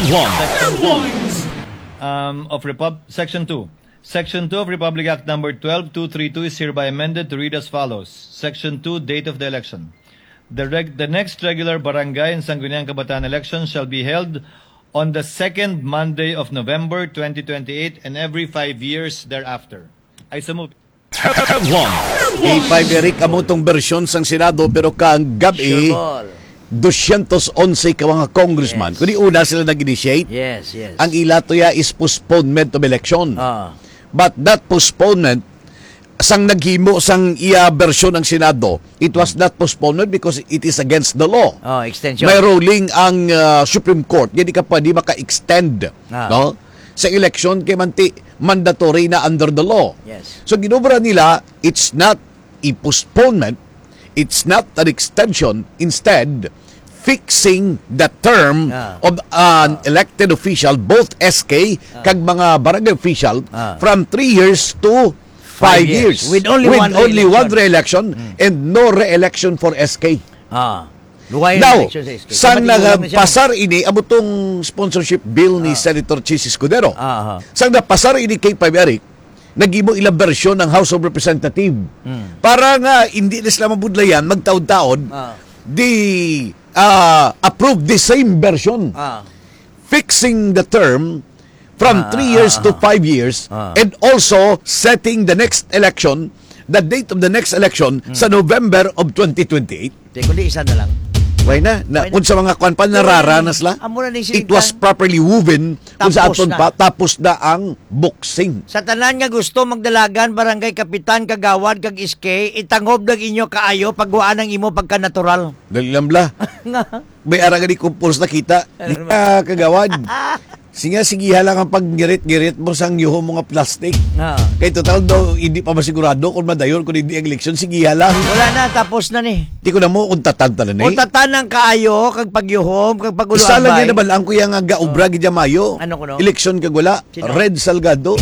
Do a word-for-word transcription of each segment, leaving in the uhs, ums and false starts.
One. Section two. Um, of Repub-, Section two. Section two of Republic Act Number twelve two three two is hereby amended to read as follows. Section two, date of the election. The reg-, the next regular barangay and Sangguniang Kabataan election shall be held on the second Monday of November twenty twenty-eight and every five years thereafter. I so move. Headline. Kay five, Eric, amo tong bersyon sang Senado, pero kang gabi, Sure ball. dosyentos onse ka mga congressman. Yes. Kundi una sila nag-initiate. Yes, yes. Ang ila to ya is postponement of election. Ah. But that postponement, sang naghimo sang iya bersyon ang Senado, it was not postponement because it is against the law. Oh, extension. May ruling ang, ah, Supreme Court, hindi ka pwede maka-extend, Ah. no? Sa election, kay manti, mandatory na under the law. Yes. So, ginobra nila, it's not a postponement, it's not an extension. Instead, fixing the term Ah. of an Ah. elected official, both S K Ah. kag mga barangay official, Ah. from three years to five Five years. years. With only With one only re-election. one re-election Mm. and no re-election for S K. Ah. Luway ang Now, election sa S K. sang Kay matinulang na siya. nagpasar ini, amo tong sponsorship bill ni Ah. Senator Chiz Escudero. Ah, ah. Sang napasar ini kay five, Eric, naghimo ilang bersyon ang House of Representative. Hmm. Para nga hindi na sila mabudlayan, magtaon-taon, Ah. di, ah, approve the same version. Ah. Fixing the term from Ah, three years ah, to ah. five years Ah. and also setting the next election, the date of the next election Hmm. sa November of twenty twenty-eight. Di, kundi isa na lang. Why na? Na, Why na? Unsa mga kwan pa, Why na? nararanas la? Amo na ni It was Sintan. properly woven. Kung sa Tapos aton na. pa, tapos na ang boxing. Sa tanan nga gusto magdalagan, barangay kapitan, kagawad, kag S K, itangob lang inyo kaayo, pagwaan ang imo pagka-natural. Dali lang bla. Nga. May ara gani kumpos nakita. Ano Di naman? ka, kagawad. Sinya, sigiha lang ang pagngirit-ngirit mo sang yuho mo nga plastic. Ah. Kay total daw, hindi pa masigurado kung madayon kung hindi ang eleksyon. Sigiha lang. Wala na, tapos na ni. Di ko na mo kung tatan tanan eh. O tatan ang kaayo, kag pagyuhom, kag Isa lang pagulo-ambay. yun na ba lang, kuya, nga gaobra Oh. gid mayo? Ano kuno? Eleksyon kag wala. Sino? Red Salgado.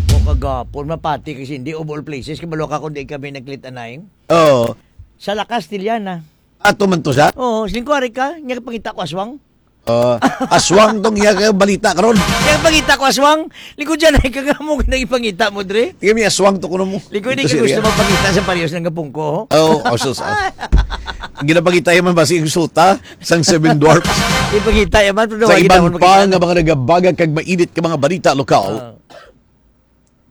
O kagapon, mapati kasi hindi of all places, kabalo ka kung di kami naglit-anay. Oo. Sa La Castellana. Ato man to sa? Oo, siling ko, ari ka, niya pangita ko aswang. Ah, aswang tong iya kay balita karon. Kaya pangita ko aswang, likod dyan ay kagamo ka nang ipangita mo, Dre. Tingnan mo, aswang to kuno mo. Likod, hindi Ito ka gusto siya. magpangita sa parehas ng gapong ko, ho? Oo, oh, sus, ah. Ginapangita yan man ba si Exota sang Seven Dwarfs? Ipangita yan man, pero Sa wala iban ginaon pa makita. nga mga nagabagag kag mainit ka mga balita lokal, Ah.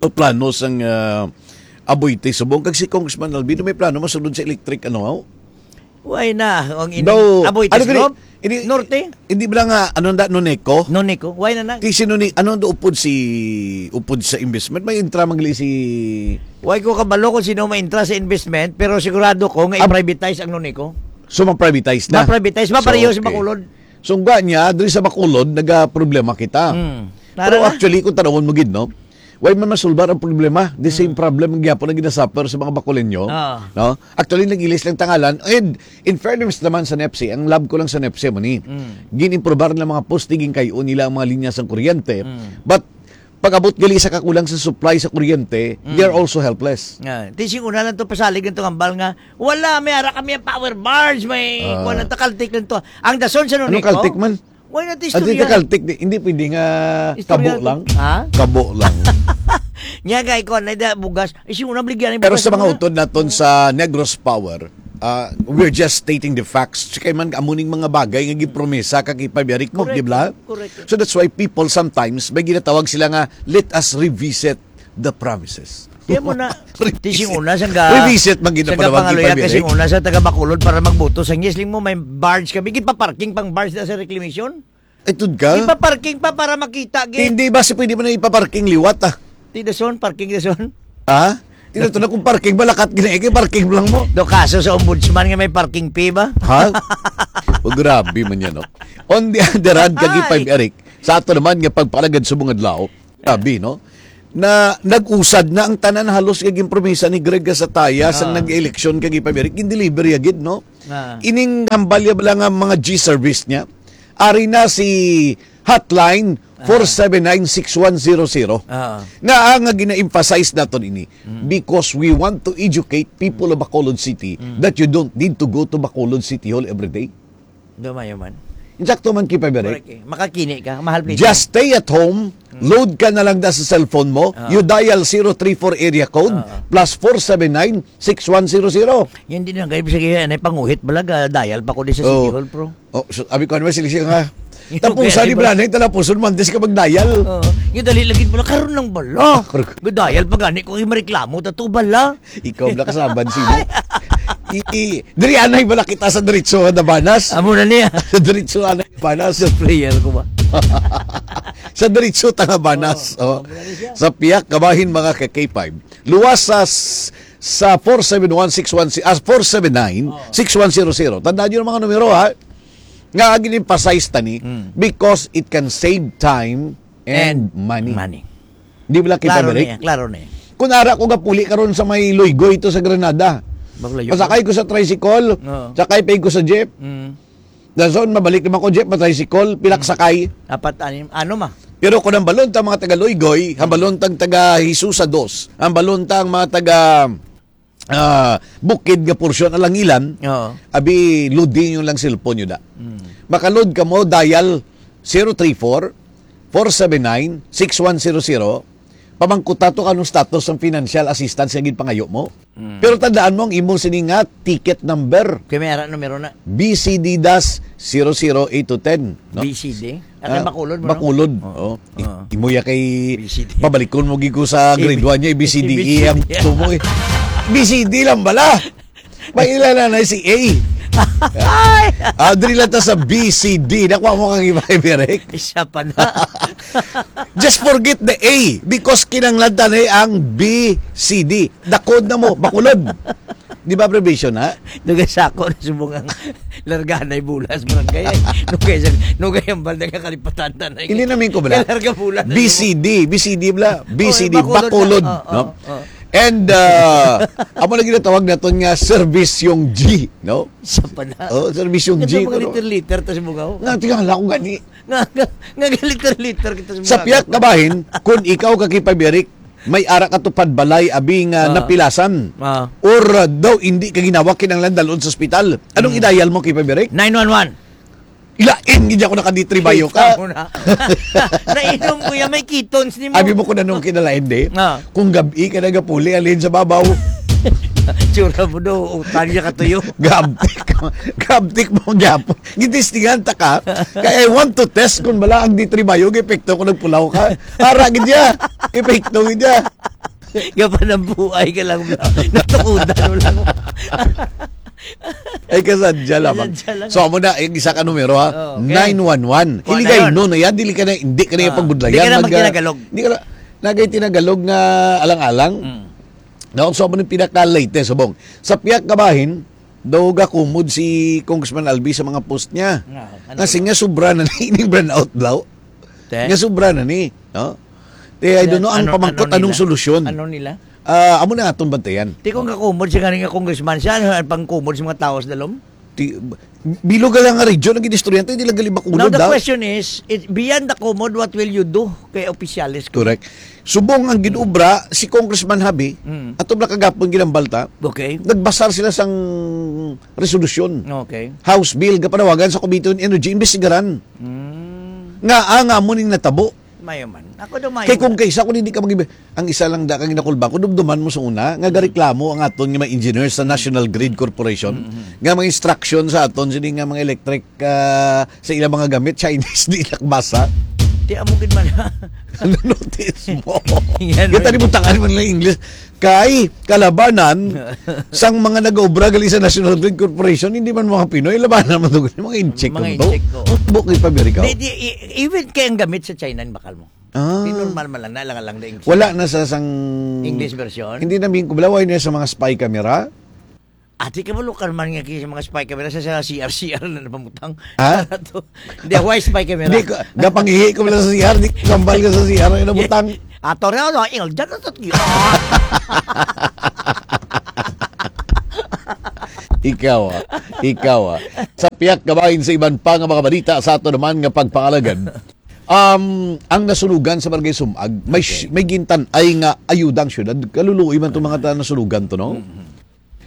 o plano sang, ah, Aboite, Subong, kag si Congressman Albino may plano masulod sa electric, ano, aw? Why na? Ang ini-, Daw, Aboite, ano gani? Subong? Hindi, Norte? hindi ba nga, ano na, Noneco? Noneco? Why na na? Ti si None-, ano, do upod si, upod sa investment? May intra magli si Why ko kabalo kung sino may intra sa investment, pero sigurado ko nga Ab- i-privatize ang Noneco. So, ma-privatize na? Ma-privatize, So, mapareho sa okay. Bacolod. So, nga niya, diri sa Bacolod, nagaproblema kita. Hmm. Pero Nara na? actually, kung tanawon mo gid, no? Why man masulbar ang problema? The same Hmm. problem ang gyapon ang ginasuffer sa mga Bacoleño, Ah. no? Actually, nag-ilis lang tangalan. And in fairness naman sa nepsi, ang love ko lang sa nepsi mo ni, Hmm. gin-improbar ng mga poste, gin-kayo nila ang mga linya sa kuryente. Hmm. But pag-abot gali sa kakulang sa supply sa kuryente, Hmm. they are also helpless. Nga, ti sing una lang to pasalig ng hambal nga, wala, may ara kami ang power barge, may Ah. kuwan lang to, kaltik lang to. Ang dason sa Ano Noneco, kaltik man? Why not At istorya? Hindi kaltik, di, hindi pwede nga Istorya kabo to. lang. Ha? Kabo lang. Nya, gay ko, na da bugas. Isi una, bligyan ng Pero bugas sa mga muna. utod naton sa Negros Power, ah, we're just stating the facts. Kay man, amo ning mga bagay nga gipromesa ka kay Pabiyari ko, Correct. di ba? Correct. So that's why people sometimes, may ginatawag sila nga, "Let us revisit the promises." Kaya mo na, Revisit. tising una, sangga, Revisit, man sangga ginapanawag ni pangaluya, Pabiyari. Kasing una, sa taga Bacolod para magboto sa yes, ling mo, may barge kami. Gipaparking pang barge na sa reclamation. Ay, tud ka? Ipaparking pa para makita, gid. Hindi ba si pwede mo na ipaparking liwat, ah? Ti dason, parking dason. Ha? Tinato na kung parking, malakat gina, eh, parking lang mo. Do kaso sa ombudsman nga may parking fee ba? Ha? O, grabe man yan, no? On the other hand, kag Ay. Ipag Eric, sa ato naman nga pagpalagad sa mga adlaw, grabe, no? Na nag-usad na ang tanan halos kag yung promesa ni Greg Gasataya sang Ah. nag-eleksyon kag Ipag Eric, gin-deliver ya gid, no? Ah. Ining hambalya bala nga mga G service niya, ari na si hotline Ah. four seven nine six one zero zero. Ah. Nga ang nga gina-emphasize naton ini, Mm. because we want to educate people of Bacolod City Mm. that you don't need to go to Bacolod City Hall every day. Gamay man. Insakto man, Kay Pabirek. Correct eh. Makakini ka, mahal plito. Just stay at home, Mm. load ka na lang da sa cellphone mo, Ah. you dial zero three four area code, Ah. plus four seven nine, six one zero zero. Yan din ang kayo, sige, anay panguhit bala, ga-dial pa ko di sa Oh. City Hall, bro. Oh, so, abi ko, ano ba, sila siya nga? Yung Tapos, kaya sa di ba? Bala, na yung talapuson, Mondays ka mag-dial. Oo. Yung dali lagi mo lang, karon lang bala. Karon. Ga-dial pa gani ko, yung mareklamo, tato bala. Ikaw, Black Sabbath, sino? I, i, diri anay bala kita sa diretso nga Dabanas. Amo na niya. Sa diretso anay Dabanas. Sa player ko ba? Sa diretso ta nga Banas, Oh, oh. Amo na niya. Sa piyak kabahin, mga ka K five. Luwas sa s-, sa four seven one six one si-, ah, four seven nine, Oh. six one zero zero. Tandaan niyo ang mga numero, ha? Nga ag-emphasize tani, Mm. because it can save time and And money. money. Di ba lang kita, Klaro na Balik? Yan, klaro na yan. Kung ara ko gapuli karon sa may Loygoy ito sa Granada. Maglayo. Pasakay ko sa tricycle, Oo. sakay pa ko sa jeep. Mm. Dason, mabalik naman ko, jeep, ma-tricycle, pilak Mm. sakay. Apat, anim, ano ma? Pero kung ang balon ta mga taga Loygoy, ang balon tang taga Hisusa dos, ang balon ta ang mga taga, ah, bukid nga porsyon, Alangilan, Oo. abi, loading yung lang cellphone nyo da. Mm. Makalod ka mo, dial zero three four, four seven nine, six one zero zero. Pamangkuta to kanong status ng financial assistance nga ginpangayo mo. Mm. Pero tandaan mo ang imong sini nga ticket number. Kay may ara numero na. B C D dash zero zero eight two ten, no? B C D? Akan Ah, Bacolod mo, no? Bacolod. Oo. Oo. Oo. I-, imo ya kay B C D. Pabalikon mo gid ko sa grade B-, one niya, B C D E ang B C D. Gusto mo eh. B C D lang bala. May ila na na si A. Ay! Ah, diri lang ta sa B C D. Nakuha mo kang iba, Berek? Isa pa na. Just forget the A because kinanglan ta na ang B C D. Dakod na mo, Bacolod. Di ba, abbreviation, ha? Nung kay sako na subong ang larga na bulas, barangay, ay. Nung kay sa-, nung kay ang balda ka kalipatan, tanay. Hindi namin ko, bala. Kay larga bulas na B C D, B C D, bala. Oh, B C D, Bacolod, Bacolod, na. Oh, no? Oh, oh. And, uh, amo na ginatawag naton nga servisyong G, no? Sa pala. Oh, servisyong G, Ganda mga pero liter-liter, tas bugaw. Nga, tingala ko gani. Nga, nga, nga liter-liter kita sa Sa mga piyak kabahin, kung ikaw ka Kay Pabirek, may ara ka tupad balay, abi nga Ah. napilasan. Ah. Or, uh, daw hindi ka ginawa kinanglan dalon sa ospital. Anong Mm. idayal mo, Kay Pabirek? Nine one one. Ilain, gid ako naka-D three bayo ka. Kita mo na. Nainom ko yan, may ketones ni mo. Abi mo kung anong kinalain, di? Ah. Kung gabi ka nagapuli, alin sa babaw. Tsura mo do, utang niya katuyo. Gabtik mo, gabtik mo, gapon. Gitistingan ta ka. Kaya I want to test kung bala ang D three bayo, epekto kung nagpulaw ka. Ara, gid niya. Epekto, gid niya. Gapanambuay ka lang, bro. Natukudan mo lang. Ay, kasadya lamang. Kasadya lang. So, amo na, yung isa ka numero, ha? Oo, okay. Nine one one. Kuha na Hiligay, yun. No, na yan. Dili ka na, hindi ka na yung Ah, pagbudlayan. Di ka na Mag-, magtinagalog. Di ka na, nagay tinagalog nga alang-alang. Mm. Naon, so, amo na yung pinaka-latest, subong. Sa piyak kabahin, daw gakumod si Congressman Albi sa mga post niya. Ah, ano Kasi ba? Nga sobra na ni ining brownout daw. Te? Nga sobra na ni, no? Te, I don't know, ang Ano, pamangkot, ano anong nila? Solusyon? Ano nila? Ah, amo na atong bantayan. Ti kung kakumod siya ganing nga congressman siya, ano ang pangkumod sa mga tao sa dalom? Ti, bilog lang nga region ang ginistoryan, ti, dili gali Bacolod, Now, the ah. Question is, it, beyond the kumod, what will you do kay opisyales ko? Correct. Subong ang ginobra, si Congressman Javi, Mm. ato bala kagapon ginambal ta, Okay. nagbasar sila sang resolusyon. Okay. House bill, gapanawagan sa Committee on Energy, imbestigaran. Mm. Nga, ah, nga mo ning natabo. Mayo man. Ako daw mayo Kay kung man. Kaysa kung hindi ka mag-, ang isa lang da kang ginakulba, kung dumduman mo sa una, nga Mm. gareklamo ang aton nga mga engineers sa National Grid Corporation, Mm-hmm. nga mga instruction sa aton, sini nga mga electric, ah, sa ilang mga gamit, Chinese, di nakbasa. Di amo gid man. Ano notice mo? Yan, Kita no? Ni butangan man lang English. Kay kalabanan sang mga nag-obra gali sa National Grid Corporation, hindi man mga Pinoy, labanan man to, mga incheck Mga man to. Incheck, oo. Bukid pa Amerika. Di, di, i-, even kay ang gamit sa China, bakal mo. Ah. Di normal man lang, naalang-alang na English. Wala na sa sang English version? Hindi na min-, wala na sa mga spy camera. Ati ka malukan man nga kay sa mga spy camera sa, sa C R C R na napamutang. Ha? To. Hindi, why spy camera? Hindi ko, gapangihi ko lang sa C R, di ko kambal ka sa C R, ano butang? Ato rin, ano, il, dyan na tatlo. Ikaw, ah. Ikaw, ah. Sa piyak kabahin sa iban pa nga mga balita sa ato naman nga pagpangalagan. Um, ang nasunugan sa Barangay Sumag, may Okay. sh-, may gintan-ay nga ayuda ang syudad. Kaluluoy man itong mga ta-, nasunugan to, no? Mm-hmm.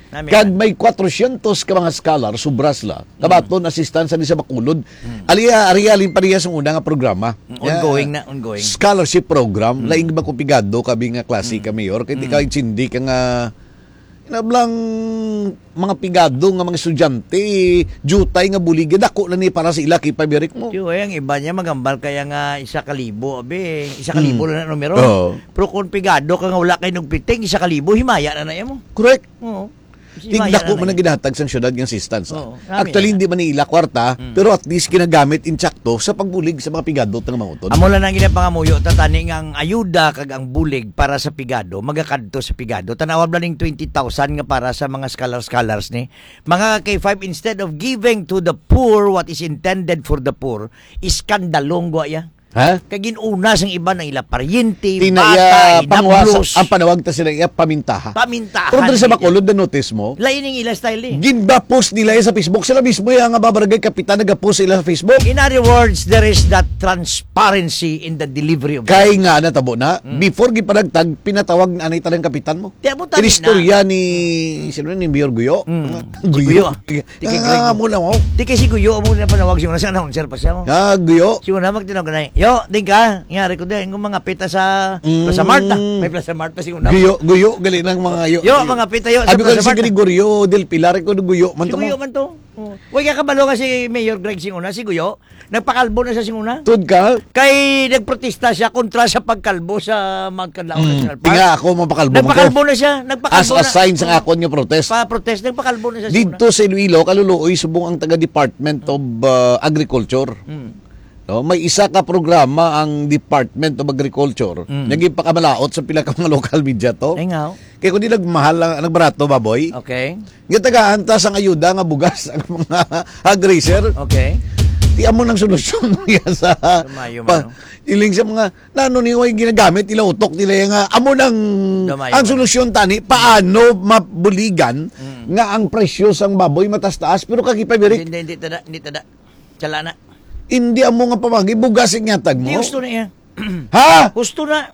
Nami Kag man. May kwatrosyentos ka mga scholar, sobra sila. Mm. Kabaton, assistance ni sa Bacolod. Mm. Ali, ah, ari, alin pa niya sa una nga programa. Mm, ongoing Ya, na, ongoing. Scholarship program, Mm. laing ba kung pigado kami nga klase Mm. ka, Mayor? Kay di Mm. ka intindi ka nga, inablang mga pigado nga mga estudyante, jutay nga bulig, dako na ni para sa ila, kay pabirik mo. Tiyo, eh, ang iba niya magambal kaya nga isa ka libo, abi, isa ka libo Mm. lang na numero. Oo. Pero kung pigado ka nga wala kay nagpiting, isa ka libo, himaya na na mo. Correct. Oo. Kasi Tig maya dako na man na ang eh. Ginahatag sang syudad nga assistance, ah. Oo, nami Actually, na. Hindi man ni ila kwarta, Mm. pero at least ginagamit insakto sa pagbulig sa mga pigadot nga mga utod. Amo lang ang ginapangamuyo ta tani nga ang ayuda kag ang bulig para sa pigado, magakadto sa pigado. Tanawa ba ning twenty thousand nga para sa mga scholar-scholars ni? Mga K five, instead of giving to the poor what is intended for the poor, iskandalong gwa ya. Ha? Kay ginuna sang iban ang ila paryente, Tina bata, iya panguwasa, inablos. Ang panawag ta sila iya pamintaha. Pamintahan Pero diri sa nila. Bacolod, na-notice mo? Lain ang ila style eh. Gindapos nila iya sa Facebook. Sila mismo iya nga mga barangay kapitan nagapost sila sa Facebook. In other words, there is that transparency in the delivery of Kay nga natabo na, Mm. before gipanagtag, pinatawag na anay tanang kapitan mo. Di, amo tani Inistorya na. Ni, sino ni Mayor Guyo? Mm. Guyo. Guyo. Tiki Ah, Greg. Mo na, wow. Tiki si Guyo, amo na panawag siya na sa announcer pa siya, oh. Ah, Guyo. Siya na magtinawag na, "Yo, ding ka?" Nga, record din, yung mga pita sa Mm. Plaza Mart, ah. May Plaza Mart pa siya na. Guyo, Guyo, gali ng mga yo. Yo, mga pita, yo, sa Abi ko Plaza si Mart, ah. Gregorio Del Pilar, ko Guyo man Si to mo. Guyo man to. Oh. Wala ka kabalo nga si Mayor Greg Singona, si Guyo. Nagpakalbo na siya sing una. Tud ka? Kay nagprotesta siya kontra sa pagkalbo sa Mount Kadlaon Mm. National Park. Tinga ako, mapakalbo man ko. Nagpakalbo na siya. Nagpakalbo As a na. Sign sa Oo. Akon nga protest. Pa-protest, nagpakalbo na siya sing una. Dito sa Iloilo, kaluluoy subong ang taga Department of, uh, Agriculture. Mm. No, may isa ka programa ang Department of Agriculture Mm. nga ginpakamalaot sa pila ka mga local media to. Ay, nga, oh. Kay kung di nagmahal ang, nagbarato, baboy, Okay. Nga tagaan ta sang ayuda nga bugas ang mga hog raiser. Okay. Di amo nang solusyon niya sa Lumayo pa-, man, no? Iling sa mga, nano ni, way ginagamit nila utok nila nga, amo nang, Lumayo ang man. Solusyon tani, paano mabuligan Mm. nga ang presyo sang baboy matas-taas, pero kagipabirik? Hindi, hindi, hindi tada, hindi tada. Chala na. Hindi amo nga pamagi, bugas ang ihatag mo. Di, gusto na iya. Ha? Gusto na.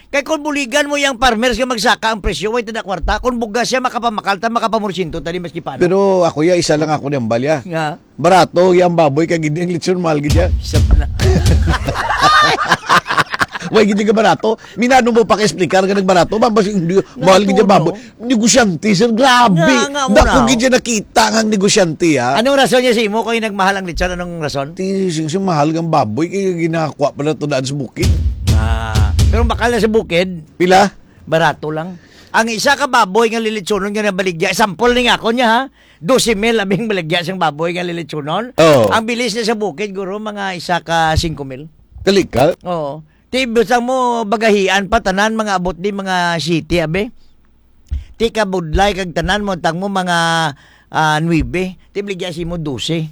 Kay kung buligan mo yang farmers nga magsaka ang presyo, way tada kwarta. Kung bugas siya, makapamakal ta, makapamursyento ta, di maski paano. Pero ako ya, isa lang ako niyang balya. Nga? Barato yang baboy, kay gid ang lechon, mahal gid ya. Isa pa na. Way gid ka barato. Minano mo pa ka-explicar nga nagbarato? Ba, mas hindi, mahal gid ya Natuno. Baboy. Negosyante, sir. Grabe. Nga, nga, Dako una, gid ya nakita nga ang negosyante, ha? Anong rason niya sa imo kung nagmahal ang lechon? Anong rason? Ti, sing, sing, mahal nga baboy, kay ginakuha pa na to daan sa bukid. Ah, pero bakal na sa bukid, Pila? Barato lang. Ang isa ka baboy nga lilitsonon nga nabaligya, sample ni nga ako niya, ha? Dose mil abing baligya sang baboy nga lilitsonon. Oo. Ang bilis niya sa bukid, guro, mga isa ka singko mil. Kali ka? Oo. Ti, basta mo bagahian pa, tanan, mga abot di, mga siyete, abi. Ti, kabudlay, kag tanan mo, tang mo, mga, ah, nuebe. Ti, baligya si mo, dose.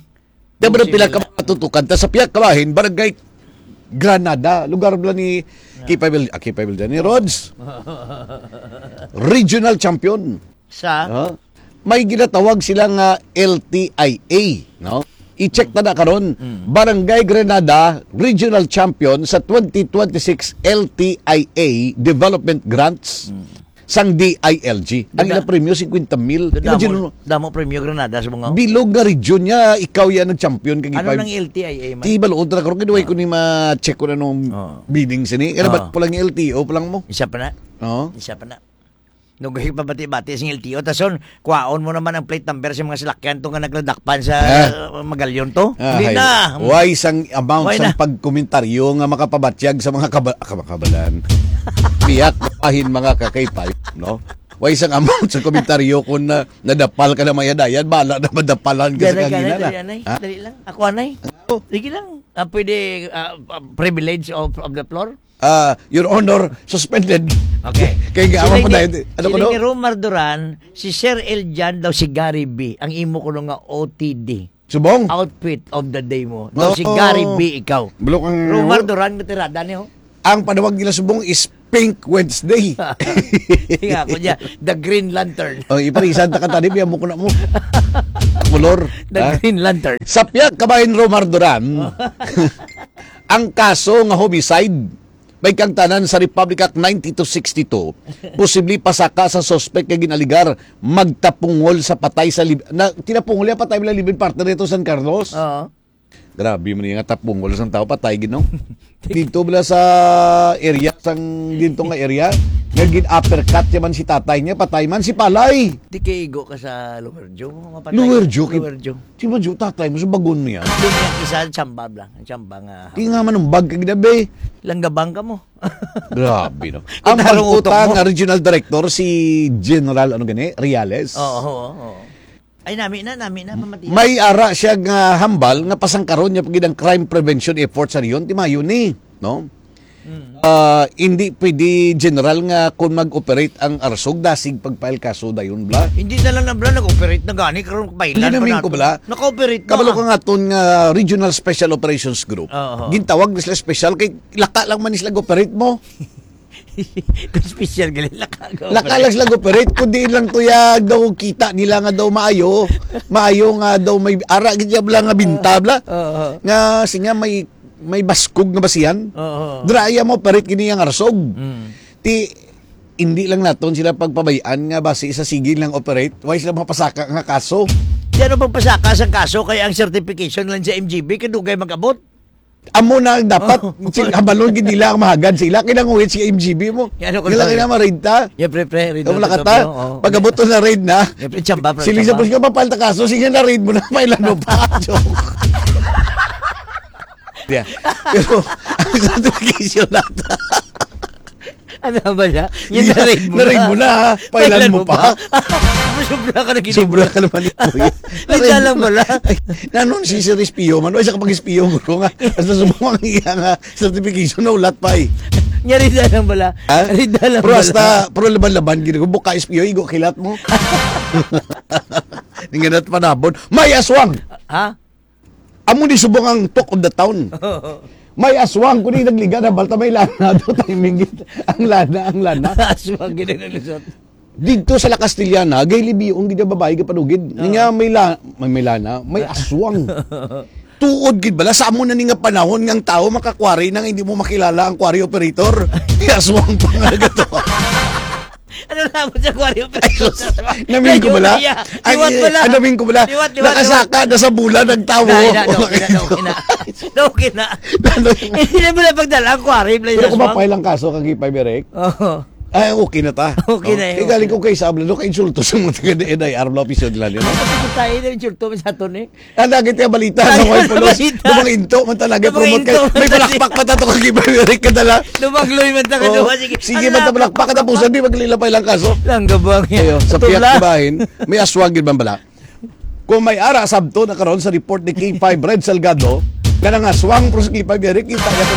Di ba Sige pila ka lang. Mga tutukan? Ta sa pihak kabahin, Barangay Granada, lugar bala ni Ah. Kipay Vil-, ah, Kipay Vildan, ni Rods. Regional champion. Sa? Ha? May ginatawag sila nga L T I A, no? I-check Mm. ta na karon, Mm. Barangay Granada, regional champion sa twenty twenty-six L T I A Development Grants. Mm. Sang D I L G. Ang Dada-, ilang premyo, singkwenta mil. Damo, Imagine mo, damo premyo Granada sa mga bilog nga region niya, ikaw yan nag-champion kag Ano ipag- nang L T I A man? Di balo, ultra karon, kinuha ko Ah. ni ma-check ko na nung Oo. bidding sini. Kaya Oo. Ba't po lang yung L T O pa lang mo? Isa pa na. Oo. Isa pa na. Nung kayo pabati-bati sa L T O, tas yun, kwaon mo naman ang plate number sa mga salakyan to nga nagladakpan sa, Ah. uh, Magalyon to. Ah, Hindi hay. na. Why sang amount Why sang na? Pagkomentaryo nga makapabatyag sa mga kaba-, kaba-, kabalan? Piyak, bahin mga kakaypay, no? Why sang amount sa komentaryo kung na, nadapal ka na mayadayan, bala na madapalan ka sa Gana, gana, kagina na. Dali, anay. Ha? Dali lang. Ako, anay. Oh. Sige lang. Ah, pwede, ah, ah, privilege of, of the floor? Ah, Your Honor, suspended. Okay. Kay nga, Siling awan pa ni, dahil, ano ko, siling no? Ni Romar Duran, si Sir Eljan daw si Gary B, ang imo kuno nga O T D. Subong? Outfit of the day mo. Daw si Oo. Gary B ikaw. Bulok ang Romar Duran nga tirada niyo. Ang panawag nila subong is Pink Wednesday. Nga ako niya, the Green Lantern. Oh, iparisan ta ka tani, biya mo ko na mo. Kolor, The ha? Green Lantern. Sa pihak kabahin Romar Duran, ang kaso nga homicide, May kang tanan sa Republic Act ninety-two sixty-two, posible pasaka sa suspek nga ginaligar magtapungol sa patay sa lib-, na, tinapungol niya patay, wala living partner nito, San Carlos. Oo. Grabe man nga tapungol sang tao, patay gid, no? Dito bala sa area, sang dito nga area, nga gin-uppercut niya man si tatay niya, patay man si palay. Di kay igo ka sa Lower Joe, mapatay. Lower Joe, kay Lower Joe. Si Majo, tatay mo sa bagon niya. Di niya isa ang tsamba, bla. Ang tsamba nga Di nga manumbag ka ginabi. Langgabang ka mo. Grabe, no? Ang Itarong utok magkuta mo. Nga regional director, si General, ano gani? Reales. Oo, oo, oo. Ay, nami na, nami na, pamati. May ara siya nga hambal nga pasangkaron niya pagid ang crime prevention effort sa rehiyon, ti mayo ni, no? Mm. Ah, hindi pwede, General, nga kung mag-operate ang ARSOG, dasig pag-file kaso dayon, bla. Hindi na lang na, bla, nag-operate na gani, karon Hindi pailan pa namin ko, nato. Bla. Naka-operate na. Kabalo ka nga ton nga Regional Special Operations Group. Oo. Gintawag na sila special kay laka lang man sila operate mo. Kung special gali, laka ka Laka lang operate. Sila operate, kundi lang tuya daw kita nila nga daw maayo, maayo nga daw may ara gid siya bla nga binta, bla. Oo. Nga, siya may, may baskog nga basihan. Oo. Dira iya mo operate kini ang ARSOG. Mm. Ti, hindi lang naton sila pagpabay-an nga basi sa sige lang operate, way sila mapasaka nga kaso. Di ano pagpasaka sang kaso kay ang certification lang sa M G B kadugay mag-abot? Amo na ang dapat, Oh. sin-, habalon gid nila ang mahagad sila. Kinanguhit si M G B mo. Yan, ako Kailangan lang. Nila ma-raid ta. Yeah, pre, pre, raid Wala natin ka to, ta. Pre, oh. Pag-abot to na raid na. Yeah, pre, tsamba, pre, Sili sa tsamba. Pulis ka, mapal ta kaso. Sige na raid mo na. Pailan mo pa. Joke. Yeah. Pero, ang certification natin. Ano ba niya? Yung Yeah, na-raid mo na-raid na. Mo na, ha? Pailan Pailan mo mo pa? pa? Sobra ka na gid. Sobra ka naman, eh. Hindi lang wala. Ay, nanon si Sir Espio man? Ay, sa kapag-espio mo nga. Hasta sumama ang iya nga certification na ulat pa, eh. Nga rin na lang wala. Ha? Rin na lang Pero wala. Hasta, pero laban-laban, gini ko, buka espio, igo kilat mo. Ninganat panabon. May aswang! Ha? Amo ni subong ang talk of the town. May aswang ko ni nagliga na balta may lana do timing gid. Ang lana, ang lana. Aswang gid ang nalusot. Dito sa La Castellana, gay libion gid ang babae gid panugid. Oo. Niya may la-, may, may lana, may aswang. Tuod gid bala sa amo na ni nga panahon nga ang tao makakwari na nga hindi mo makilala ang quarry operator. Di aswang pa nga gato. Ano na mo sa aquarium? Ay, sus. Namin ko bala. Liwat Ay, bala. Ano, namin ko bala. Liwat, liwat, Nakasaka liwat. Na sa bulan ang tao. Na, na, na, okay na, na, okay na. Na, okay na. Ano? Hindi na mo na pagdala ang aquarium, Pero kung Jasmine. Mapay lang kaso kag ipay, Berek? Oo. Ay, okay na ta. Okay na, eh, Kaya galing okay. Ko kay Sabla, no, kay insulto sa mga taga N I R, wala opisyon nila, no? Tayo na yung insulto mo sa aton, eh. Ang lagi tayo balita, Lagi no, tayo balita. Dumang into, man talaga, Dumang promote into, kayo. May man talaga. Palakpak pa tato kag ipay, Berek, kadala. Lumagloy man ta ka Oo. Duha, sige. Sige, Ano basta lang, malakpak katapusan, di maglilapay lang kaso. Lang gabang yan. Ayo, sa Ito piyat lang. Kabahin, may aswang gid man bala. Kung may ara sabto na karon sa report ni K five Red Salgado, nga nangaswang pro sa K five Eric, kita niya to.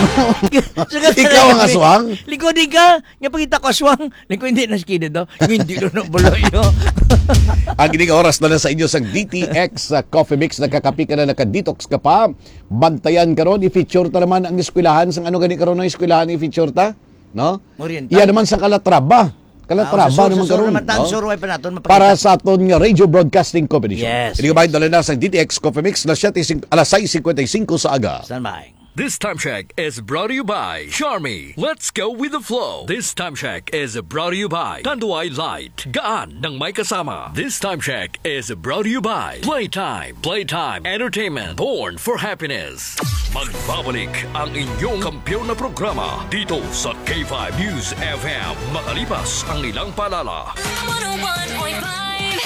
Ikaw ang aswang? Likod ka, nga pagkita ko aswang, liko hindi na skided, no? Hindi na na balayo. Ang ining oras na lang sa inyo sang D T X sa Coffee Mix, nakakapi ka na, naka-detox ka pa. Bantayan karon, i-feature ta naman ang eskwelahan sang ano gani karon ang eskwelahan i-feature ta? No? Oriental. Iya naman sa Calatrava. Calatrava Ah, sa sur, naman sa sur karon, naman, tan no? Sur, way pa naton mapakita. Para sa aton nga radio broadcasting competition. Yes, Hindi ka yes. Ba dala na sa D T X Coffee Mix na siyete sing-, alas sais cincuenta y cinco sa aga. Stand by. This time check is brought to you by Charmy. Let's go with the flow. This time check is brought to you by Tanduay Light. Gaan ng may kasama. This time check is brought to you by Playtime. Playtime Entertainment. Born for happiness. Magbabalik ang inyong kampiyon na programa dito sa K five News F M. Makalipas ang ilang paalala. One oh one point five.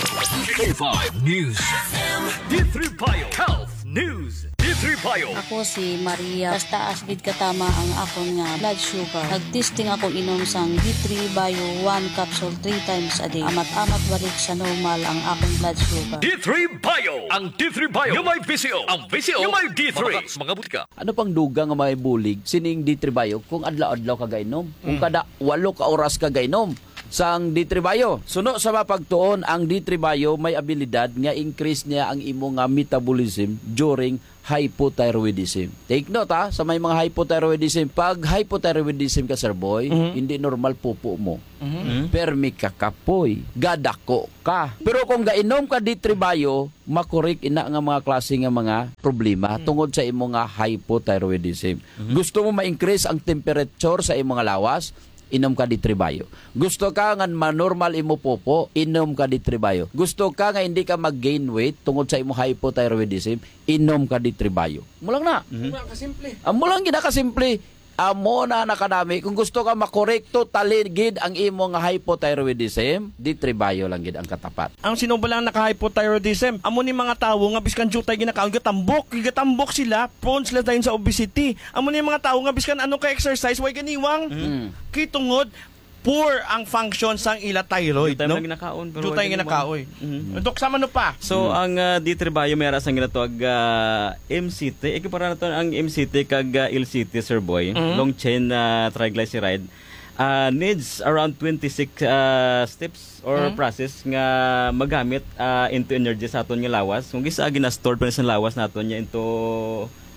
K five News F M. D three Bio Health News. D three Bio. Ako si Maria. Taas-taas gid katama ang akon nga blood sugar. Nag-testing ako inom sang D three Bio one capsule three times a day. Amat-amat balik sa normal ang akon blood sugar. D three Bio. Ang D three Bio nga may V C O. Ang V C O nga may D three. Mabakal sa mga butika. Ano pang dugang nga may bulig sining D three Bio kung adlaw-adlaw ka gainom? Kung Mm. Kada walo ka oras ka gainom? sang D three Bio. Suno sa mapagtuon, ang D three Bio may abilidad nga increase niya ang imo nga metabolism during hypothyroidism. Take note, ha, sa may mga hypothyroidism. Pag hypothyroidism ka, sir boy, Mhm. hindi normal pupo mo. Mhm. Permi ka kapoy, gadako ka. Pero kung gainom ka D three Bio, makorek ina nga mga klase nga mga problema Mhm. tungod sa imo nga hypothyroidism. Mhm. Gusto mo ma-increase ang temperature sa imo nga lawas? Inom ka D three Bio. Gusto ka nga manormal imo pupo? Inom ka D three Bio. Gusto ka nga hindi ka mag-gain weight tungod sa imo hypothyroidism? Inom ka D three Bio. Amo lang na. Mhm. Amo lang kasimple. Amo lang gid na kasimple. Amo na na kadami. Kung gusto ka makorek totally gid ang imo nga hypothyroidism, D three Bio lang gid ang katapat. Ang sino ba lang naka-hypothyroidism? Amo ni mga tawo nga biskan jutay ginakaon, gatambok, gatambok sila, prone sila dayon sa obesity. Amo ni mga tawo nga biskan ano ka exercise, way ganiwang. Mm. Kay tungod poor ang function sang ila thyroid, Jutay no? man ginakaon, pero Jutay way ganiwang. ginakaon. Mm. Dok, sama no pa? So, Mm. ang, ah, D three Bio may ara sang ginatawag, ah, M C T. Ikipara nato ang M C T kag, ah, L C T, Sir Boy. Mm. Long chain, ah, triglyceride. Ah, needs around twenty-six, ah, steps or Mm. process nga magamit, ah, into energy sa aton nga lawas. Kung gisa, gina-store pa ni sa lawas naton niya into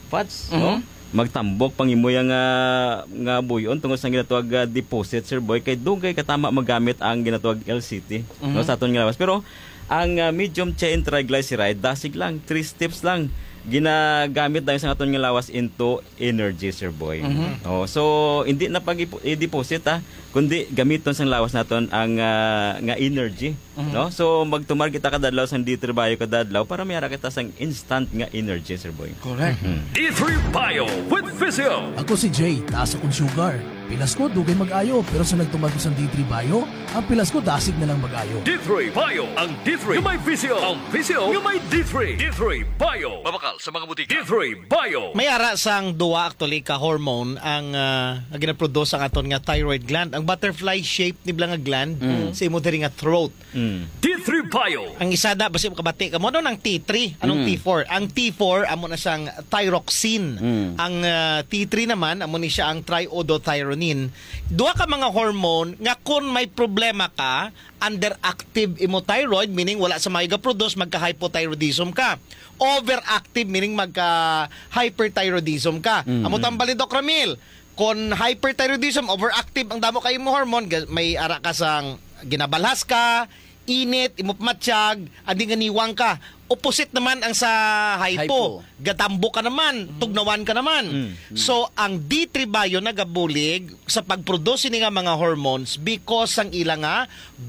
fats, no? Mhm. Magtambok pang imo yang, ah, nga buyon tungod sa ginatawag, ah, deposit, Sir Boy, kay dugay katama magamit ang ginatawag L C T, no, Mhm. sa aton nga lawas. Pero ang, ah, medium chain triglyceride, dasig lang, three steps lang, ginagamit dayon sa aton nga lawas into energy, Sir Boy. Mhm. Oh, so, hindi na pag ipo-, i-deposit, ah, kundi gamiton sang lawas naton ang, ah, nga energy, Mhm. no? So, magtumar kita kada adlaw sang D three Bio kada adlaw para may ara kita sang instant nga energy, Sir Boy. Correct. Mhm. D three Bio with Physio. Ako si Jay, taas akong sugar. Pilas ko, dugay mag-ayo, pero sa nagtumar ko sang D three Bio, ang pilas ko dasig na lang mag-ayo. D three Bio, ang D three nga may Physio, ang Physio nga may D three. D three Bio. Mabakal sa mga butika. D three Bio. May ara sang duwa actually ka hormone ang, ah, nga ginaproduce ang aton nga thyroid gland. Ang butterfly shape ni bala nga gland Mm. sa imo diri nga throat. Mm. D three Bio. Ang isa na, basi makabati ka mo, ano ng T three? Anong Mm. T four? Ang T four, amo na siyang thyroxine. Mm. Ang, ah, T three naman, amo ni siya ang triiodothyronine. Duha ka mga hormone nga kung may problema ka, underactive imo thyroid, meaning wala sa maayo ga-produce, magka-hypothyroidism ka. Overactive, meaning magka-hyperthyroidism ka. Mm. Amo tambal ni Doc Ramil, kon hyperthyroidism, overactive ang damo kay imo hormone, ga-, may ara ka sang ginabalhas ka, init, imo pamatsyag, andi nga niwang ka. Opposite naman ang sa hypo. Hypo. Gatambok ka naman, Mm. tugnawan ka naman. Mm. So, ang D three Bio nagabulig sa pag-produce ni nga mga hormones because sang ila nga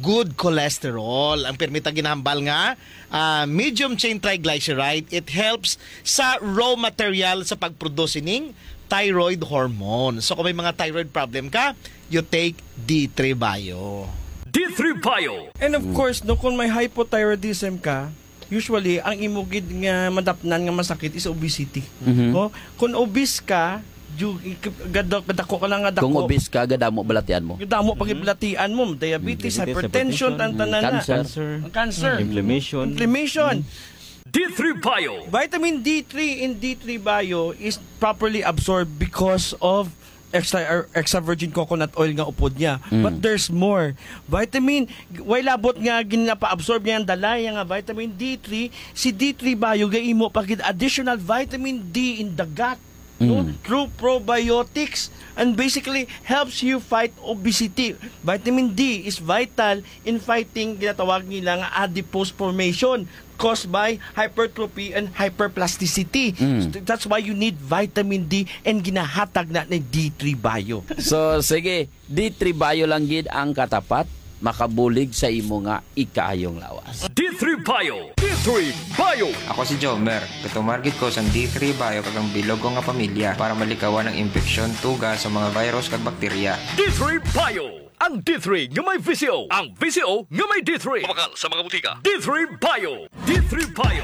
good cholesterol. Ang pirmi ta ginahambal nga, ah, medium chain triglyceride, it helps sa raw material sa pag-produce ning thyroid hormone. So, kung may mga thyroid problem ka, you take D three Bio. D three Bio. And of Mm. course, no, kung may hypothyroidism ka, usually, ang imo gid nga madapnan nga masakit is obesity. Mhm. No? Kung obese ka, ju-, gada-, gadako ka lang nga dako. Kung obese ka, gadamo balatian mo. Gadamo Mhm. pagbalatian mo, diabetes, Diabetes, hypertension, hypertension, tan-, tanan na. Cancer. Ang cancer. Inflammation. Inflammation. Mm. D three Bio. Vitamin D three in D three Bio is properly absorbed because of extra, er, extra virgin coconut oil nga upod niya. Mm. But there's more. Vitamin, way labot nga ginapa-absorb niya ang dalaya nga vitamin D three, si D three Bio gaimo pa gid additional vitamin D in the gut. No? Mm. Through probiotics and basically helps you fight obesity. Vitamin D is vital in fighting ginatawag nila nga adipose formation caused by hypertrophy and hyperplasticity. Mm. So, that's why you need vitamin D and ginahatag na ni D three Bio. So, sige, D three Bio lang gid ang katapat makabulig sa imo nga ikaayong lawas. D three Bio. D three Bio. Ako si Jomer. Gatumar gid ko sang D three Bio kag ang bilog ko nga pamilya para malikawan ang impeksyon, tuga sa mga virus kag bakterya. D three Bio. Ang D three nga may V C O. Ang V C O nga may D three. Mabakal sa mga butika. D three Bio. D three Bio.